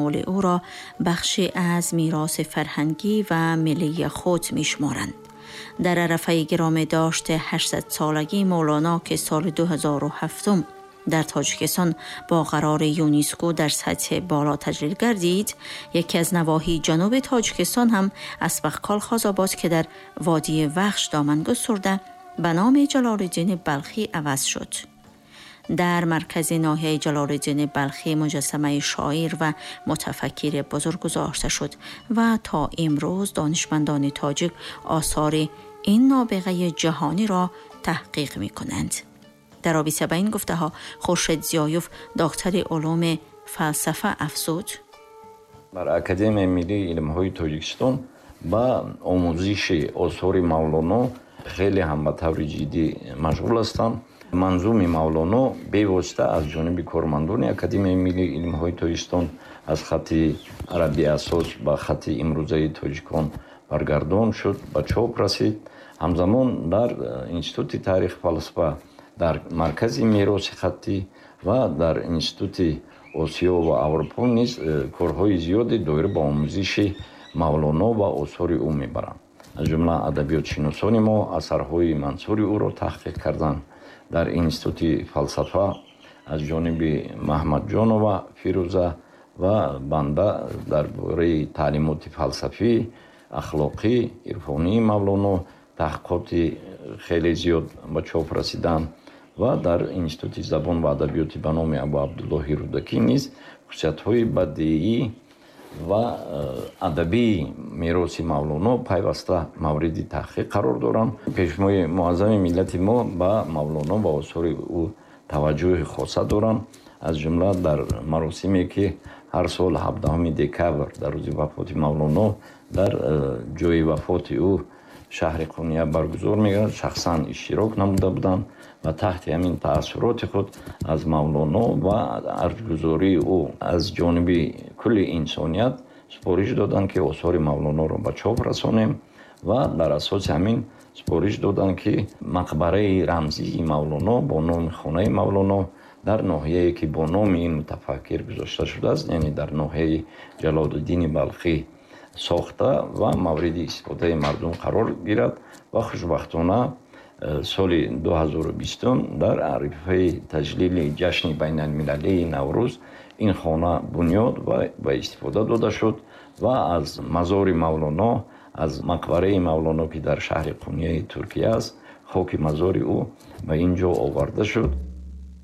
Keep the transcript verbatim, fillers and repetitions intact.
مال او را بخشی از میراث فرهنگی و ملی خود می‌شمارند. در عرفه گرامی داشت هشتصد سالگی مولانا که سال دو هزار و هفت در تاجیکستان با قرار یونسکو در سطح بالا تجلیل گردید، یکی از نواحی جنوب تاجیکستان هم اسبقکال خازآباد که در وادی وخش دامن گسترده به نام جلال‌الدین بلخی عوض شد. در مرکز ناحیه جلال‌الدین بلخی مجسمه شاعر و متفکر بزرگ گذاشته شد و تا امروز دانشمندان تاجیک آثار این نابغه جهانی را تحقیق می کنند. در رابطه با این گفته ها خورشید ضیایوف دکتر علوم فلسفه افزود: در اکادمی ملی علم‌های تاجیکستان با آموزش آثار مولانا خیلی هم به طور جدی مشغول هستند. منظوم مولانا بیواسطه از جانب کارمندان اکادمی ملی علم‌های تاجیکستان از خط عربی اساس به خط امروزه تاجیکان برگردان شد، به چاپ رسید. همزمان در انستیتوت تاریخ فلسفه، در مرکز میراث خطی و در انستیتوت آسیا و اروپا نیز کارهای زیادی دایر به آموزش مولانا و آثار او میبرند. از جمله ادبیات شناسان ما اثرهای منثور او را تحقیق کردند. در انستیتوت فلسفه از جانب محمد جانова فیروزه و بنده درباره تعلیمات فلسفی، اخلاقی، عرفانی مولانا تحقیقات خیلی زیاد به چاپ رسیدند و در انستیتوت زبان و ادبیات به نام ابو عبدالله رودکی نیز خصوصیت‌های بدیعی و ادبی میراث مولانا پیوسته مورد تحقیق قرار دارند. پیشوای معظم ملت ما به مولانا و آثار او توجه خاصه دارند. از جمله در مراسمی که هر سال هفدهم دکابر در روز وفات مولانا در جای وفات او شهر قونیه برگزار می‌گردد، شخصا اشتراک نموده بودند و تحت همین تأثیرات خود از مولانا و ارجگذاری او از جانب کل انسانیت سپارش دادند که آثار مولانا را به چاپ رسانیم و در اساس همین سپارش دادند که مقبره رمزی مولانا با نام خانه مولانا در ناحیه‌ای که با نام این متفکر گذاشته شده است، یعنی در ناحیه جلال‌الدین بلخی ساخته و مورد استفاده مردم قرار گیرد و خوشبختانه سال دو هزار و بیست در عرفه تجلیل جشن بین المللی نوروز این خانه بنیاد و به استفاده داده شد و از مزار مولانا، از مقبره مولانا که در شهر قونیه ترکیه است، خاک مزار او به اینجا آورده شد.